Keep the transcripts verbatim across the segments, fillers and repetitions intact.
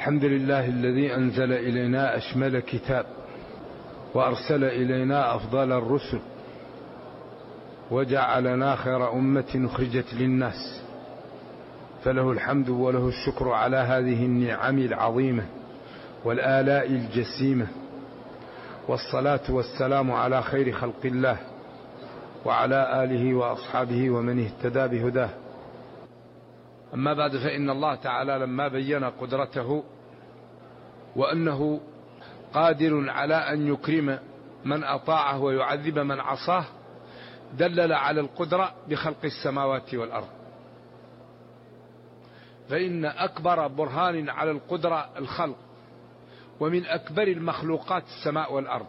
الحمد لله الذي أنزل إلينا أشمل كتاب وأرسل إلينا أفضل الرسل وجعلنا خير أمة أخرجت للناس، فله الحمد وله الشكر على هذه النعم العظيمة والآلاء الجسيمة، والصلاة والسلام على خير خلق الله وعلى آله وأصحابه ومن اهتدى بهداه. أما بعد، فإن الله تعالى لما بين قدرته وأنه قادر على أن يكرم من أطاعه ويعذب من عصاه، دلل على القدرة بخلق السماوات والأرض. فإن أكبر برهان على القدرة الخلق، ومن أكبر المخلوقات السماء والأرض.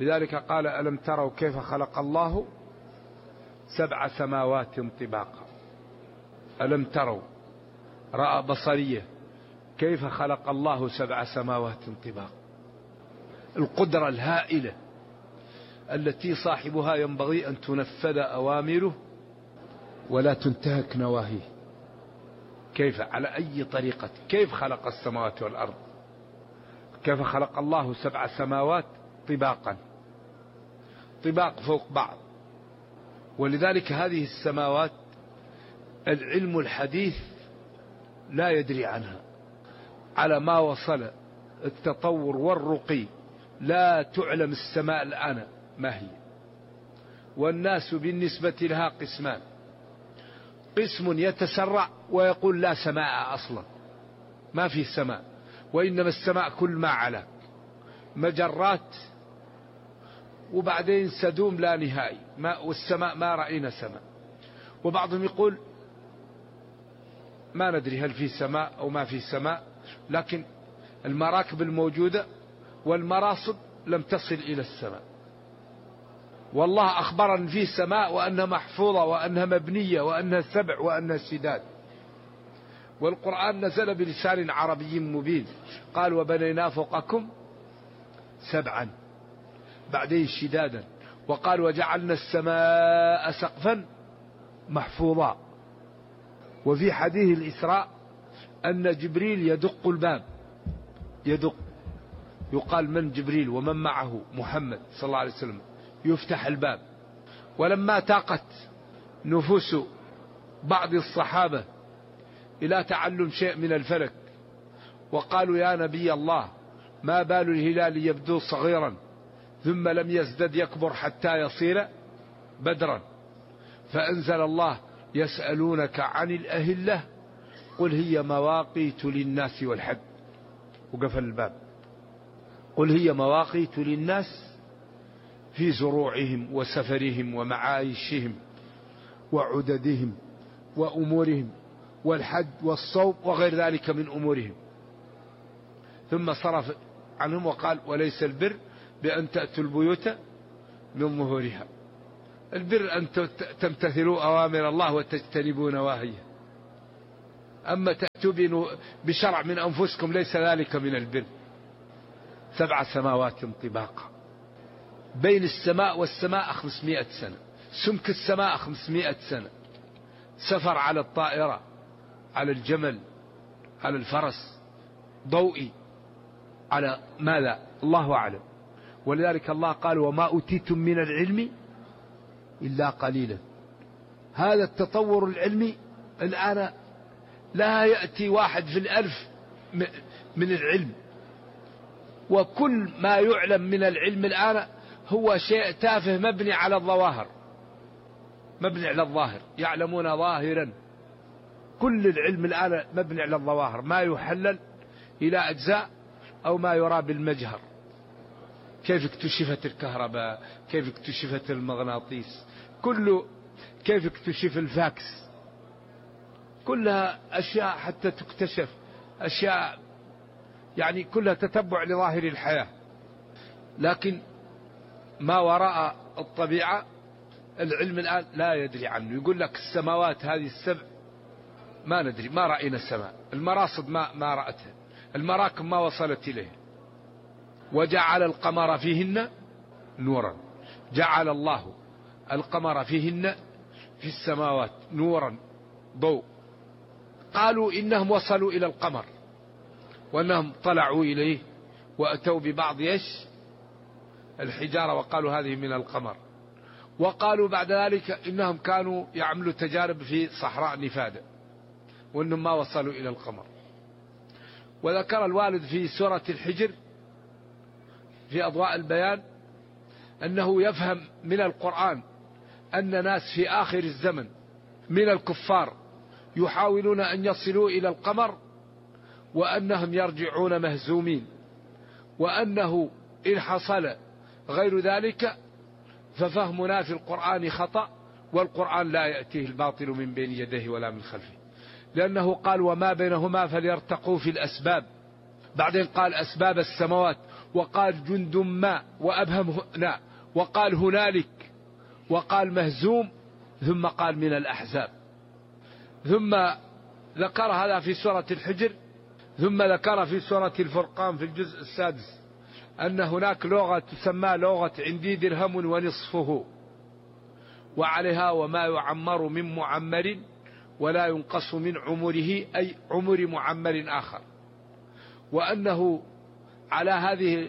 لذلك قال: ألم تروا كيف خلق الله سبع سماوات طباقا. ألم تروا رأى بصرية كيف خلق الله سبع سماوات طباقا. القدرة الهائلة التي صاحبها ينبغي أن تنفذ أوامره ولا تنتهك نواهيه. كيف؟ على أي طريقة؟ كيف خلق السماوات والأرض؟ كيف خلق الله سبع سماوات طباقا، طباق فوق بعض. ولذلك هذه السماوات العلم الحديث لا يدري عنها، على ما وصل التطور والرقي لا تعلم السماء الآن ما هي. والناس بالنسبة لها قسمان: قسم يتسرع ويقول لا سماء أصلا، ما في سماء، وإنما السماء كل ما علا، مجرات وبعدين سدوم لا نهائي، ما والسماء ما رأينا سماء. وبعضهم يقول ما ندري هل في سماء أو ما في سماء، لكن المراكب الموجودة والمراصد لم تصل إلى السماء. والله أخبر أن في سماء وأنها محفوظة وأنها مبنية وأنها سبع وأنها شداد. والقرآن نزل بلسان عربي مبين، قال: وبنينا فوقكم سبعا، بعدين شدادا، وقال: وجعلنا السماء سقفا محفوظا. وفي حديث الإسراء أن جبريل يدق الباب، يدق، يقال من جبريل ومن معه محمد صلى الله عليه وسلم، يفتح الباب. ولما تاقت نفوس بعض الصحابة إلى تعلم شيء من الفلك، وقالوا: يا نبي الله، ما بال الهلال يبدو صغيرا ثم لم يزدد يكبر حتى يصير بدرا، فأنزل الله: يسألونك عن الأهلة قل هي مواقيت للناس والحج، وقفل الباب. قل هي مواقيت للناس في زروعهم وسفرهم ومعايشهم وعددهم وأمورهم والحج والصوم وغير ذلك من أمورهم. ثم صرف عنهم وقال: وليس البر بأن تأتوا البيوت من ظهورها. البر أن تمتثلوا أوامر الله وتجتنبوا نواهيه. أما تأتوا بشرع من أنفسكم ليس ذلك من البر. سبع سماوات طباقا، بين السماء والسماء خمسمائة سنة، سمك السماء خمسمائة سنة، سفر على الطائرة، على الجمل، على الفرس، ضوئي، على ماذا؟ الله أعلم. ولذلك الله قال: وما أوتيتم من العلم إلا قليلا. هذا التطور العلمي الآن لا يأتي واحد في الألف من العلم، وكل ما يعلم من العلم الآن هو شيء تافه مبني على الظواهر، مبني على الظاهر، يعلمون ظاهرا. كل العلم الآن مبني على الظواهر، ما يحلل إلى أجزاء أو ما يرى بالمجهر. كيف اكتشفت الكهرباء، كيف اكتشفت المغناطيس، كله، كيف اكتشف الفاكس، كلها أشياء حتى تكتشف، أشياء يعني كلها تتبع لظاهر الحياة. لكن ما وراء الطبيعة العلم الآن لا يدري عنه. يقول لك السماوات هذه السبع ما ندري، ما رأينا السماء، المراصد ما, ما رأتها، المراكب ما وصلت إليه. وجعل القمر فيهن نورا، جعل الله القمر فيهن في السماوات نورا، ضوء. قالوا إنهم وصلوا إلى القمر، وأنهم طلعوا إليه وأتوا ببعض إيش الحجارة وقالوا هذه من القمر. وقالوا بعد ذلك إنهم كانوا يعملوا تجارب في صحراء نفادة وأنهم ما وصلوا إلى القمر. وذكر الوالد في سورة الحجر في أضواء البيان أنه يفهم من القرآن أن ناس في آخر الزمن من الكفار يحاولون أن يصلوا إلى القمر وأنهم يرجعون مهزومين، وأنه إن حصل غير ذلك ففهمنا في القرآن خطأ، والقرآن لا يأتيه الباطل من بين يديه ولا من خلفه، لأنه قال وما بينهما فليرتقوا في الأسباب، بعدين قال أسباب السماوات، وقال جند ما وأبهم هنا، وقال هنالك، وقال مهزوم، ثم قال من الأحزاب. ثم ذكر هذا في سورة الحجر. ثم ذكر في سورة الفرقان في الجزء السادس أن هناك لغة تسمى لغة عندي درهم ونصفه، وعليها وما يعمر من معمر ولا ينقص من عمره، أي عمر معمر آخر. وأنه على هذه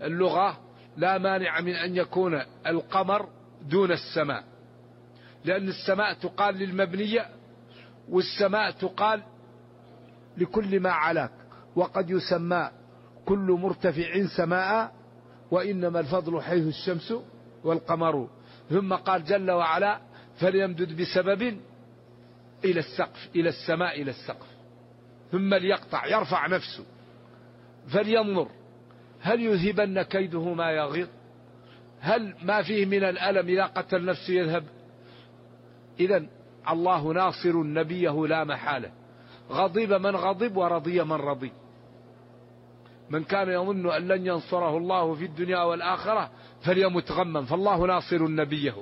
اللغة لا مانع من أن يكون القمر دون السماء، لأن السماء تقال للمبنية، والسماء تقال لكل ما علاك، وقد يسمى كل مرتفع سماء، وإنما الفضل حيث الشمس والقمر. ثم قال جل وعلا فليمدد بسبب إلى السقف، إلى السماء إلى السقف، ثم ليقطع يرفع نفسه فلينظر هل يذهبن كيده ما يغيظ، هل ما فيه من الألم إذا قتل نفسه يذهب. إذن الله ناصر نبيه لا محالة، غضب من غضب ورضي من رضي. من كان يظن أن لن ينصره الله في الدنيا والآخرة فليمت غما، فالله ناصر نبيه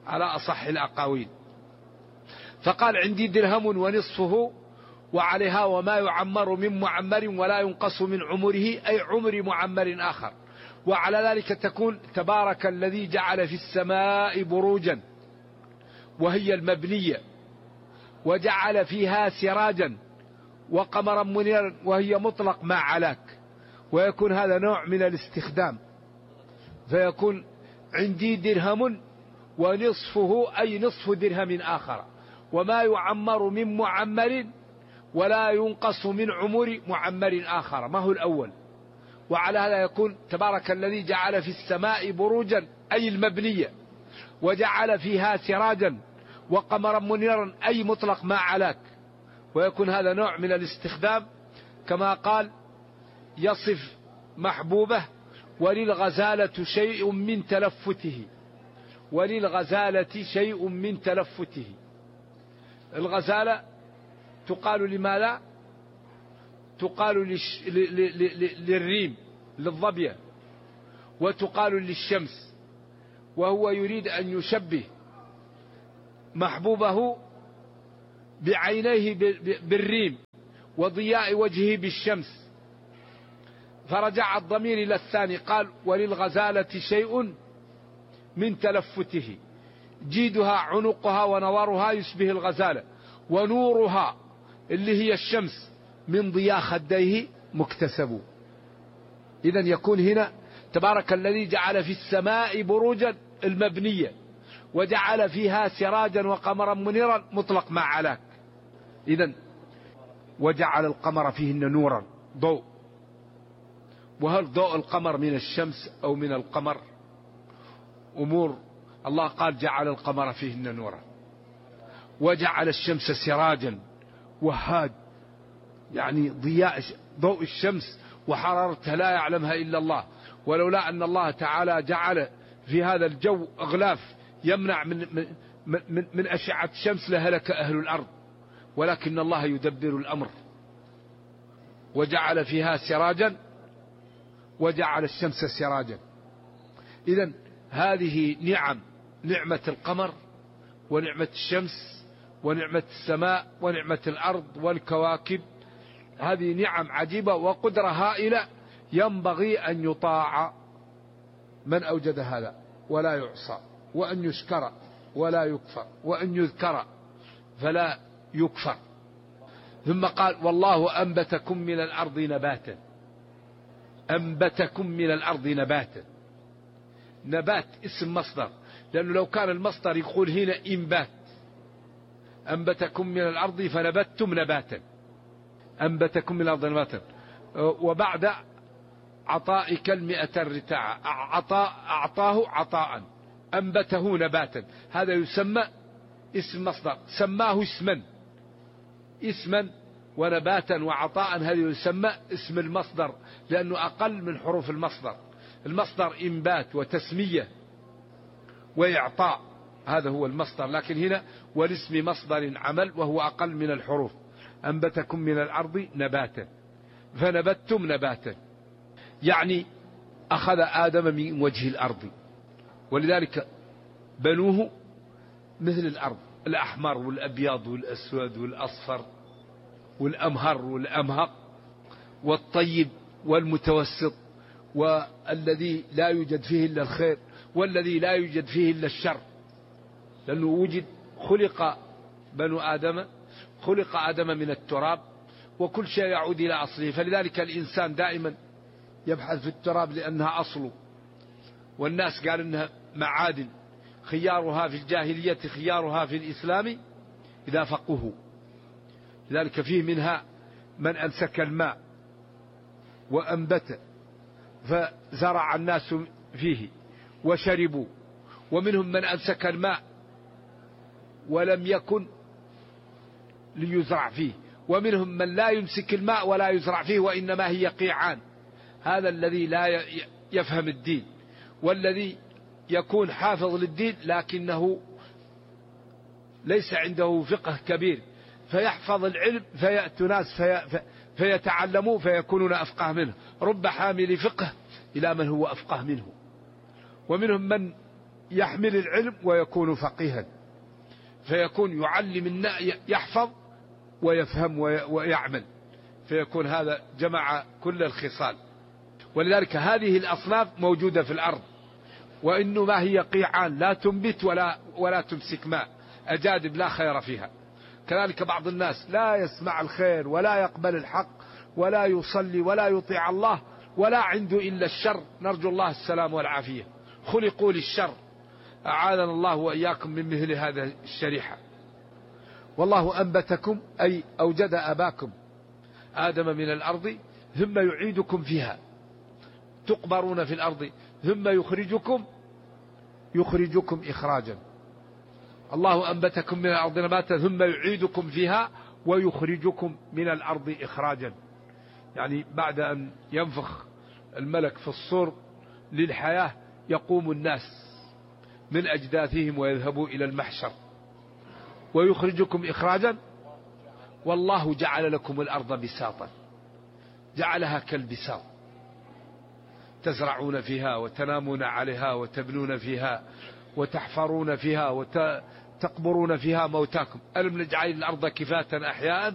على أصح الأقاويل. فقال عندي درهم ونصفه وعليها وما يعمر من معمر ولا ينقص من عمره، أي عمر معمر آخر. وعلى ذلك تكون تبارك الذي جعل في السماء بروجا وهي المبنية، وجعل فيها سراجا وقمرا منيرا وهي مطلق ما علاك، ويكون هذا نوع من الاستخدام، فيكون عندي درهم ونصفه أي نصف درهم آخر، وما يعمر من معمر ولا ينقص من عمر معمر آخر، ما هو الأول. وعلى هذا يكون تبارك الذي جعل في السماء بروجا أي المبنية، وجعل فيها سراجا وقمرا منيرا أي مطلق ما علاك، ويكون هذا نوع من الاستخدام. كما قال يصف محبوبه وللغزالة شيء من تلفته، وللغزالة شيء من تلفته. الغزالة تقال لماذا؟ تقال للش... ل... ل... ل... للريم للظبية، وتقال للشمس. وهو يريد أن يشبه محبوبه بعينيه بالريم وضياء وجهه بالشمس، فرجع الضمير إلى الثاني، قال وللغزالة شيء من تلفته، جيدها عنقها ونورها يشبه الغزالة، ونورها اللي هي الشمس من ضياء خديه مكتسب. إذن يكون هنا تبارك الذي جعل في السماء بروجا المبنية وجعل فيها سراجا وقمرا منيرا مطلق ما علاك. إذن وجعل القمر فيهن نورا ضوء. وهل ضوء القمر من الشمس أو من القمر؟ أمور الله قال جعل القمر فيهن نورا، وجعل الشمس سراجا وهاج، يعني ضياء ضوء الشمس وحرارتها لا يعلمها إلا الله. ولولا أن الله تعالى جعل في هذا الجو أغلاف يمنع من, من, من, من أشعة الشمس لهلك أهل الأرض، ولكن الله يدبر الأمر. وجعل فيها سراجا وجعل الشمس سراجا. إذن هذه نعم، نعمة القمر ونعمة الشمس ونعمة السماء ونعمة الأرض والكواكب، هذه نعم عجيبة وقدرة هائلة ينبغي أن يطاع من أوجد هذا ولا يعصى، وأن يشكر ولا يكفر، وأن يذكر فلا يكفر. ثم قال والله أنبتكم من الأرض نباتا. أنبتكم من الأرض نباتا. نبات اسم مصدر، لأنه لو كان المصدر يقول هنا إنبات، أنبتكم من الأرض فنبتتم نباتا، أنبتكم من الأرض نباتا. وبعد عطائك المئة الرتاع، عطاء أعطاه عطاء، أنبته نباتا، هذا يسمى اسم مصدر، سماه اسما اسما ونباتا وعطاء، هذا يسمى اسم المصدر لأنه أقل من حروف المصدر. المصدر إنبات وتسمية وإعطاء، هذا هو المصدر، لكن هنا والاسم مصدر عمل وهو أقل من الحروف. أنبتكم من الأرض نباتا فنبتتم نباتا، يعني أخذ آدم من وجه الأرض، ولذلك بنوه مثل الأرض، الأحمر والأبيض والأسود والأصفر والأمهر والأمهق والطيب والمتوسط، والذي لا يوجد فيه إلا الخير والذي لا يوجد فيه إلا الشر، لأنه وجد خلق بنو آدم، خلق آدم من التراب، وكل شيء يعود إلى أصله. فلذلك الإنسان دائما يبحث في التراب لأنها أصله، والناس قال إنها معادن، خيارها في الجاهلية خيارها في الإسلام إذا فقهوا. لذلك فيه منها من أمسك الماء وأنبت فزرع الناس فيه وشربوا، ومنهم من أمسك الماء ولم يكن ليزرع فيه، ومنهم من لا يمسك الماء ولا يزرع فيه وإنما هي قيعان. هذا الذي لا يفهم الدين، والذي يكون حافظ للدين لكنه ليس عنده فقه كبير، فيحفظ العلم فيأتي ناس في فيتعلموا فيكونون أفقه منه. رب حامل فقه إلى من هو أفقه منه. ومنهم من يحمل العلم ويكون فقيها، فيكون يعلم يحفظ ويفهم ويعمل، فيكون هذا جمع كل الخصال. ولذلك هذه الأصناف موجودة في الأرض، وإنه ما هي قيعان لا تنبت ولا ولا تمسك ماء، أجادب لا خير فيها. كذلك بعض الناس لا يسمع الخير ولا يقبل الحق ولا يصلي ولا يطيع الله ولا عنده إلا الشر، نرجو الله السلام والعافية، خلقوا للشر، أعاذنا الله وإياكم من مثل هذا الشريحة. والله أنبتكم أي أوجد أباكم آدم من الأرض ثم يعيدكم فيها، تقبرون في الأرض ثم يخرجكم يخرجكم إخراجا. الله أنبتكم من الأرض نباتا ثم يعيدكم فيها ويخرجكم من الأرض إخراجا، يعني بعد أن ينفخ الملك في الصور للحياة يقوم الناس من أجداثهم ويذهبوا إلى المحشر، ويخرجكم إخراجا. والله جعل لكم الأرض بساطا، جعلها كالبساط، تزرعون فيها وتنامون عليها وتبنون فيها وتحفرون فيها وتقبرون فيها موتاكم. ألم نجعل الأرض كفاة أحياء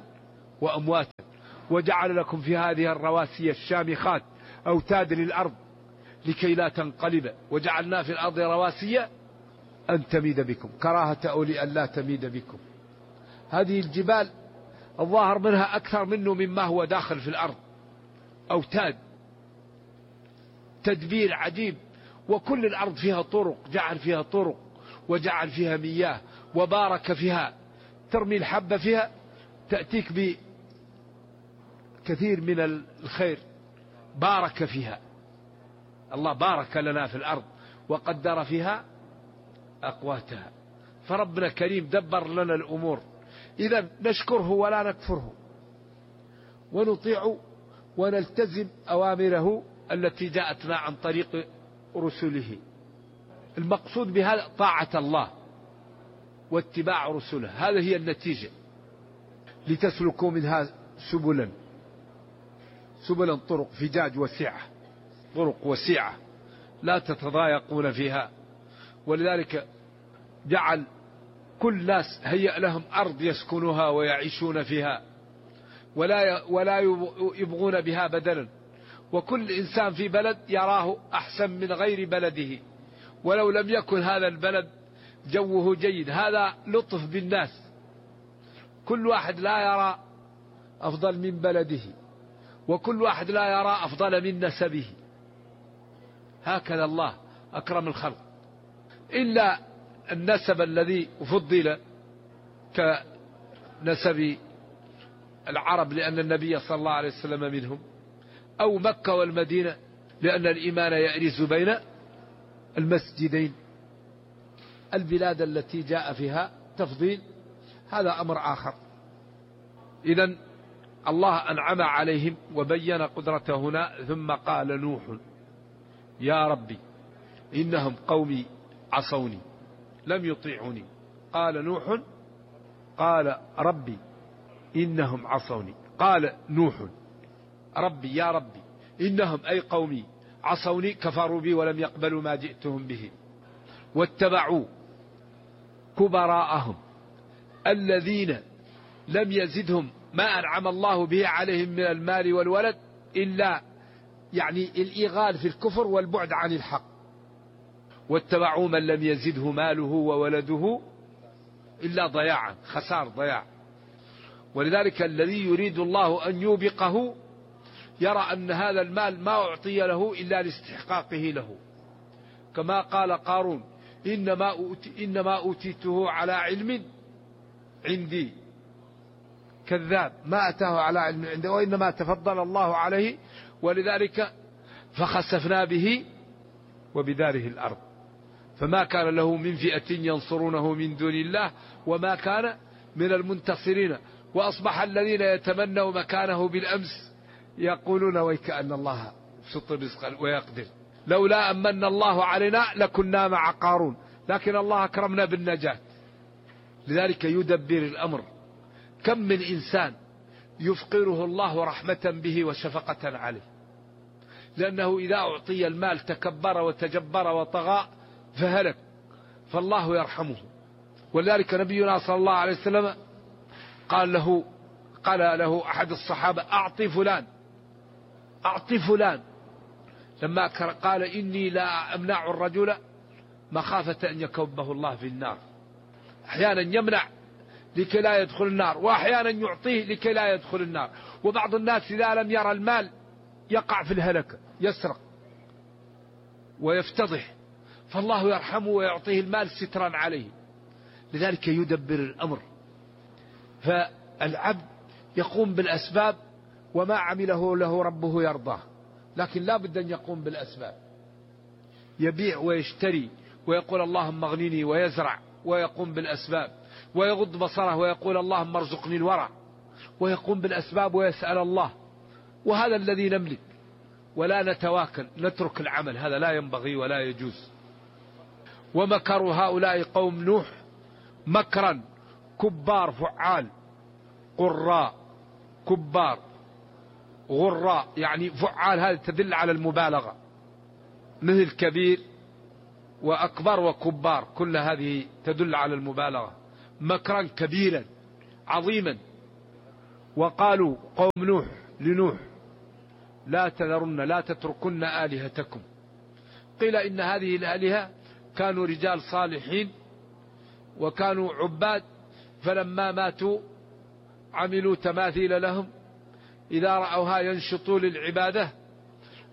وأمواتا وجعل لكم في هذه الرواسي الشامخات أوتاد للأرض لكي لا تنقلب، وجعلنا في الأرض رواسي أن تميد بكم كراهة أولي أن لا تميد بكم. هذه الجبال الظاهر منها أكثر منه مما هو داخل في الأرض، أوتاد، تدبير عجيب. وكل الأرض فيها طرق، جعل فيها طرق وجعل فيها مياه وبارك فيها، ترمي الحبة فيها تأتيك بكثير من الخير، بارك فيها. الله بارك لنا في الأرض وقدر فيها أقواتها، فربنا كريم دبر لنا الأمور. إذا نشكره ولا نكفره، ونطيع ونلتزم أوامره التي جاءتنا عن طريق رسله. المقصود بهذا طاعة الله واتباع رسله، هذه هي النتيجة. لتسلكوا منها سبلا، سبلا طرق فجاج وسعة، طرق وسعة لا تتضايقون فيها. ولذلك جعل كل ناس هيأ لهم أرض يسكنوها ويعيشون فيها، ولا ولا يبغون بها بدلا. وكل إنسان في بلد يراه أحسن من غير بلده، ولو لم يكن هذا البلد جوه جيد. هذا لطف بالناس، كل واحد لا يرى أفضل من بلده، وكل واحد لا يرى أفضل من نسبه. هكذا الله أكرم الخلق، إلا النسب الذي فضل كنسب العرب لأن النبي صلى الله عليه وسلم منهم، أو مكة والمدينة لأن الإيمان يأرز بين المسجدين. البلاد التي جاء فيها تفضيل هذا أمر آخر. إذن الله أنعم عليهم وبين قدرته هنا، ثم قال نوح يا ربي إنهم قومي عصوني لم يطيعوني. قال نوح قال ربي إنهم عصوني. قال نوح ربي يا ربي إنهم أي قومي عصوني، كفروا بي ولم يقبلوا ما جئتهم به، واتبعوا كبراءهم الذين لم يزدهم ما أنعم الله به عليهم من المال والولد إلا يعني الإغال في الكفر والبعد عن الحق. واتبعوا من لم يزده ماله وولده إلا ضياعا، خسار ضياع. ولذلك الذي يريد الله أن يوبقه يرى أن هذا المال ما أعطي له إلا لاستحقاقه له، كما قال قارون إنما, أوتي إنما أوتيته على علم عندي. كذاب، ما أتاه على علم عنده، وإنما تفضل الله عليه. ولذلك فخسفنا به وبداره الأرض، فما كان له من فئة ينصرونه من دون الله وما كان من المنتصرين. وأصبح الذين يتمنوا مكانه بالأمس يقولون ويكأن الله يبسط الرزق ويقدر، لولا أمن الله علينا لكنا مع قارون، لكن الله أكرمنا بالنجاة. لذلك يدبر الأمر. كم من إنسان يفقره الله رحمة به وشفقة عليه، لأنه إذا أعطي المال تكبر وتجبر وطغى فهلك، فالله يرحمه. ولذلك نبينا صلى الله عليه وسلم قال له قال له أحد الصحابة أعطي فلان أعطي فلان، لما قال إني لا أمنع الرجل مخافة أن يكبه الله في النار. أحيانا يمنع لكي لا يدخل النار، وأحيانا يعطيه لكي لا يدخل النار. وبعض الناس إذا لم يرى المال يقع في الهلكة، يسرق ويفتضح، فالله يرحمه ويعطيه المال سترا عليه. لذلك يدبر الأمر. فالعبد يقوم بالأسباب، وما عمله له ربه يرضاه، لكن لا بد أن يقوم بالأسباب، يبيع ويشتري ويقول اللهم اغنني، ويزرع ويقوم بالأسباب، ويغض بصره ويقول اللهم ارزقني الورع، ويقوم بالأسباب ويسأل الله. وهذا الذي نملك، ولا نتواكل نترك العمل، هذا لا ينبغي ولا يجوز. ومكروا هؤلاء قوم نوح مكرا كبار فعال قراء كبار غراء، يعني فعال هذه تدل على المبالغة، مثل كبير وأكبر وكبار، كل هذه تدل على المبالغة. مكرا كبيرا عظيما. وقالوا قوم نوح لنوح لا تذرن لا تتركن آلهتكم. قيل إن هذه الآلهة كانوا رجال صالحين وكانوا عباد، فلما ماتوا عملوا تماثيل لهم إذا رأوها ينشطوا للعبادة،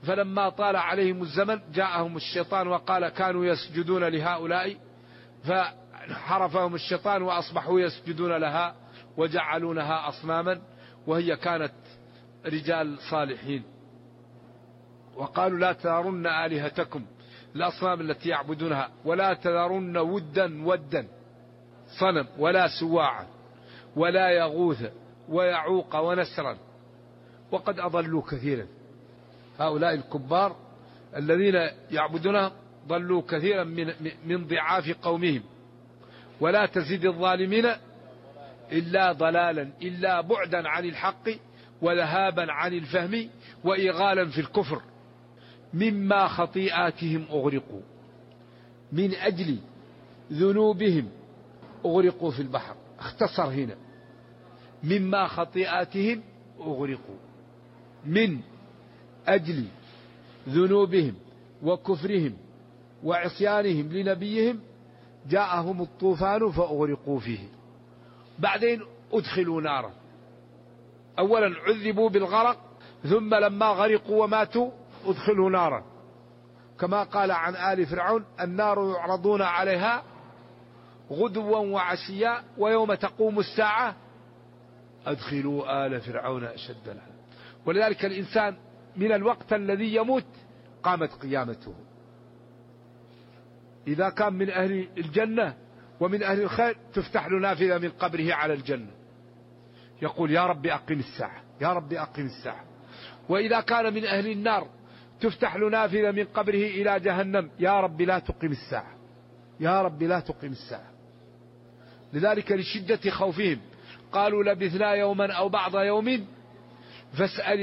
فلما طال عليهم الزمن جاءهم الشيطان وقال كانوا يسجدون لهؤلاء، فحرفهم الشيطان وأصبحوا يسجدون لها وجعلونها أصناما، وهي كانت رجال صالحين. وقالوا لا تذرن آلهتكم، الأصنام التي يعبدونها، ولا تذرن ودا ودا صنم، ولا سواعا، ولا يغوث ويعوق ونسرا، وقد أضلوا كثيرا. هؤلاء الكبار الذين يعبدونها ضلوا كثيرا من, من ضعاف قومهم. ولا تزيد الظالمين إلا ضلالا، إلا بعدا عن الحق وذهابا عن الفهم وإغالا في الكفر. مما خطيئاتهم أغرقوا، من أجل ذنوبهم أغرقوا في البحر. اختصر هنا مما خطيئاتهم أغرقوا، من أجل ذنوبهم وكفرهم وعصيانهم لنبيهم جاءهم الطوفان فأغرقوا فيه. بعدين أدخلوا نارا، أولا عذبوا بالغرق، ثم لما غرقوا وماتوا أدخلوا نارا، كما قال عن آل فرعون: النار يعرضون عليها غدوا وعشيا ويوم تقوم الساعة أدخلوا آل فرعون أشد العذاب. ولذلك الإنسان من الوقت الذي يموت قامت قيامته. إذا كان من أهل الجنة ومن أهل الخير تفتح له نافذة من قبره على الجنة، يقول: يا رب أقم الساعة، يا رب أقم الساعة. وإذا كان من أهل النار تفتح له نافذة من قبره إلى جهنم: يا رب لا تقم الساعة، يا رب لا تقم الساعة. لذلك لشدة خوفهم قالوا: لبثنا يوما أو بعض يوم فاسأل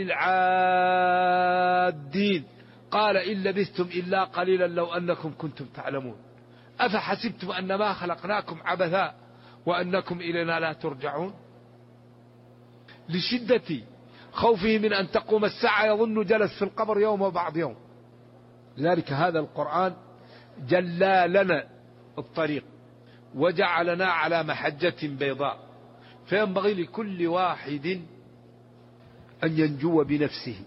العادين قال إن لبثتم إلا قليلا لو أنكم كنتم تعلمون أفحسبتم أنما خلقناكم عبثا وأنكم إلينا لا ترجعون. لشدة خوفه من أن تقوم الساعة يظن جلس في القبر يوم وبعض يوم. لذلك هذا القرآن جلى لنا الطريق وجعلنا على محجة بيضاء، فينبغي لكل واحد أن ينجو بنفسه.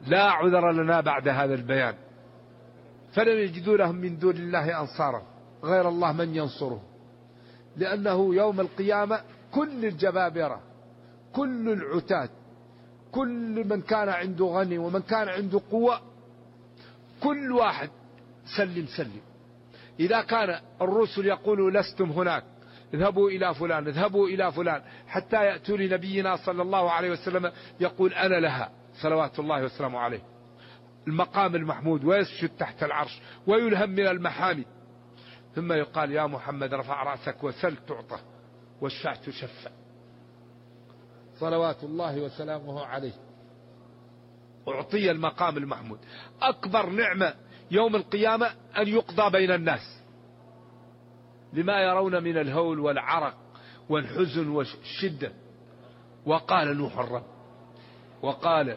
لا عذر لنا بعد هذا البيان، فلم يجدوا لهم من دون الله أنصارا غير الله من ينصره، لأنه يوم القيامة كل الجبابرة، كل العتاد، كل من كان عنده غني ومن كان عنده قوة، كل واحد سلم سلم. إذا كان الرسل يقولوا: لستم هناك، اذهبوا إلى فلان، اذهبوا إلى فلان، حتى يأتوا لنبينا صلى الله عليه وسلم يقول: أنا لها صلوات الله وسلامه عليه، المقام المحمود، ويسجد تحت العرش ويلهم من المحامد، ثم يقال: يا محمد رفع رأسك وسل تعطى واشفع تشفع، صلوات الله وسلامه عليه. أعطي المقام المحمود. أكبر نعمة يوم القيامة أن يقضى بين الناس لما يرون من الهول والعرق والحزن والشدة. وقال نوح الرب، وقال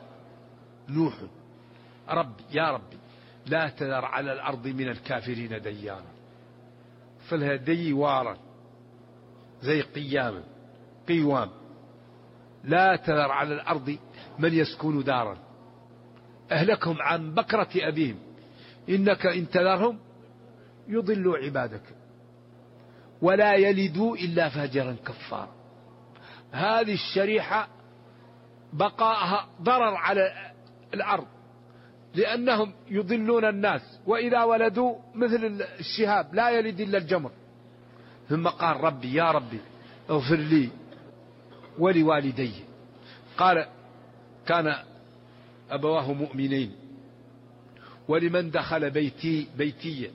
نوح: ربي يا ربي لا تذر على الأرض من الكافرين ديانا. فلها ديوارا زي قياما قيوام، لا تذر على الأرض من يسكن دارا أهلكهم عن بكرة أبيهم إنك إن تذرهم يضلوا عبادك ولا يلدوا إلا فاجرا كفارا. هذه الشريحة بقاءها ضرر على الأرض، لأنهم يضلون الناس، وإذا ولدوا مثل الشهاب لا يلد إلا الجمر. ثم قال: ربي يا ربي اغفر لي ولوالدي. قال: كان أبواه مؤمنين، ولمن دخل بيتي بيتي،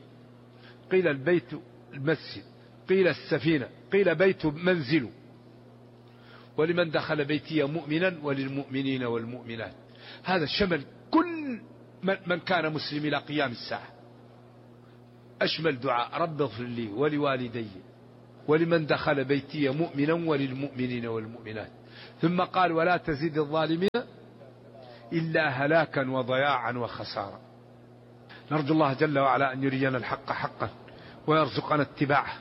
قيل البيت المسجد، قيل السفينة، قيل بيت منزل، ولمن دخل بيتي مؤمنا وللمؤمنين والمؤمنات. هذا شمل كل من كان مسلم إلى قيام الساعة. أشمل دعاء: رب اغفر لي ولوالدي ولمن دخل بيتي مؤمنا وللمؤمنين والمؤمنات. ثم قال: ولا تزيد الظالمين إلا هلاكا وضياعا وخسارا. نرجو الله جل وعلا أن يرينا الحق حقا ويرزقنا اتباعه،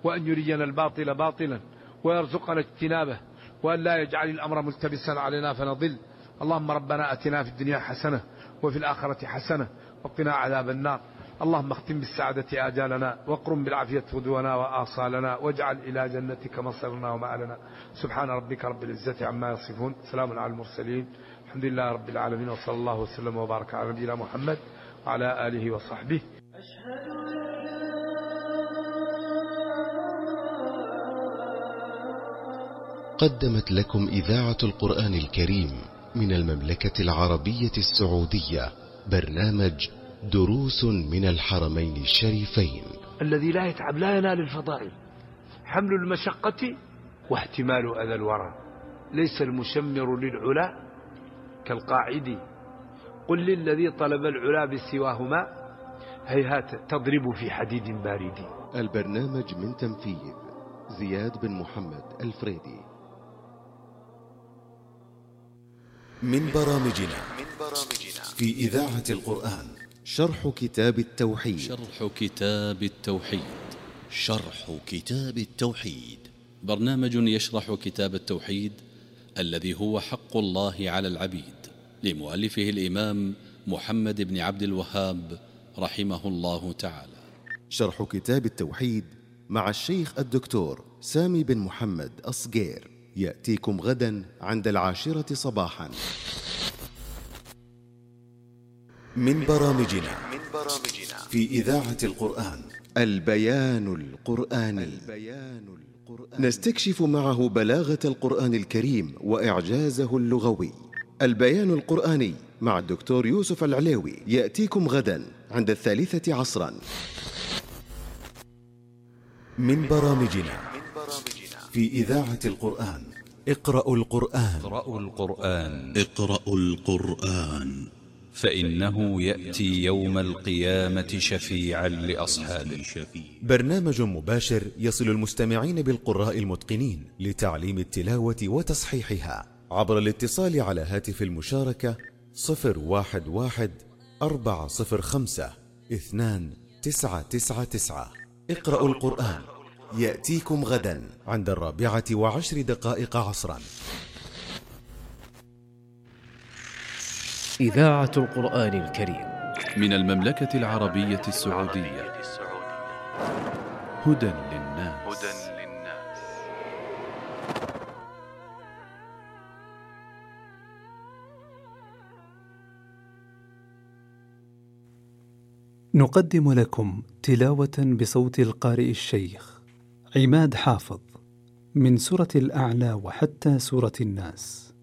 وأن يرينا الباطل باطلا ويرزقنا اجتنابه، وأن لا يجعل الأمر ملتبسا علينا فنضل. اللهم ربنا أتنا في الدنيا حسنة وفي الآخرة حسنة وقنا عذاب النار. اللهم اختم بالسعادة آجالنا، واقرم بالعافية غدونا وآصالنا، واجعل إلى جنتك مصيرنا ومآلنا. سبحان ربك رب العزة عما يصفون، سلام على المرسلين، الحمد لله رب العالمين، وصلى الله وسلم وبارك على نبينا محمد وعلى آله وصحبه. قدمت لكم إذاعة القرآن الكريم من المملكة العربية السعودية برنامج دروس من الحرمين الشريفين. الذي لا يتعب لا ينال الفضائل، حمل المشقة واحتمال أذى الورى، ليس المشمر للعلا كالقاعد، قل للذي طلب العلا بسواهما هيهات تضرب في حديد بارد. البرنامج من تنفيذ زياد بن محمد الفريدي. من برامجنا في إذاعة القرآن شرح كتاب التوحيد. شرح كتاب التوحيد شرح كتاب التوحيد برنامج يشرح كتاب التوحيد الذي هو حق الله على العبيد، لمؤلفه الإمام محمد بن عبد الوهاب رحمه الله تعالى. شرح كتاب التوحيد مع الشيخ الدكتور سامي بن محمد الصقير يأتيكم غدا عند العاشرة صباحا. من برامجنا في إذاعة القرآن البيان القرآني. نستكشف معه بلاغة القرآن الكريم وإعجازه اللغوي. البيان القرآني مع الدكتور يوسف العليوي يأتيكم غدا عند الثالثة عصرا. من برامجنا في إذاعة القرآن اقرأوا القرآن اقرأوا القرآن اقرأوا القرآن فإنه يأتي يوم القيامة شفيعا لأصحابه. برنامج مباشر يصل المستمعين بالقراء المتقنين لتعليم التلاوة وتصحيحها عبر الاتصال على هاتف المشاركة صفر واحد واحد أربعة صفر خمسة اثنان تسعة تسعة تسعة. اقرأوا القرآن يأتيكم غدا عند الرابعة وعشر دقائق عصرا. إذاعة القرآن الكريم من المملكة العربية السعودية. هدى للناس. نقدم لكم تلاوة بصوت القارئ الشيخ عماد حافظ من سورة الأعلى وحتى سورة الناس.